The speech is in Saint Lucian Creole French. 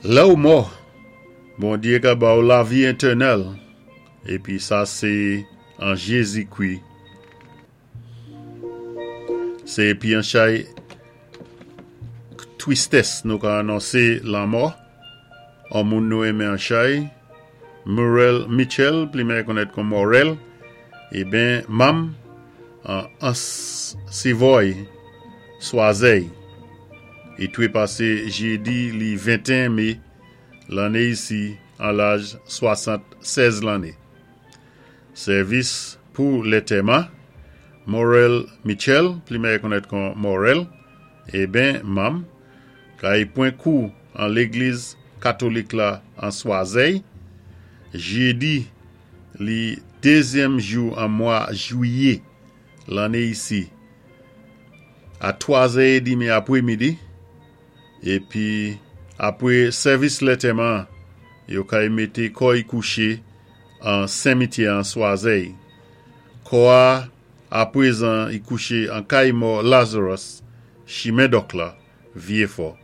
Lè ou mò, Bondyé ka ba ou lavi étènèl, épi sa sé an Jézikri. Sé épi an chay twistès nou ka anonsé lanmò on moun nou enmen an chay, Murrell Mitchell, pli mèyè konnèt kon Morel, eben manm an Ansivòy, Swazèy. I twe pasé jédi li 21 mé lanné isi an laj 76 lanné. Sèvis pou lètèman, Morel Mitchell, pli mèyè konnèt kon Morel, eben manm, kay pwen kou an légliz katolik la an Swazèy, jédi li dézyèm jou an mwa jwiyé lanné isi a 3 zè edmi apwé midi, épi apwé sèvis lètèman an, yo kay mété kò-y kouché an senmityè an Swazèy. Kò a apwézan y kouché an kay mò Lazarus, chimen Dòk la, Vyéfò.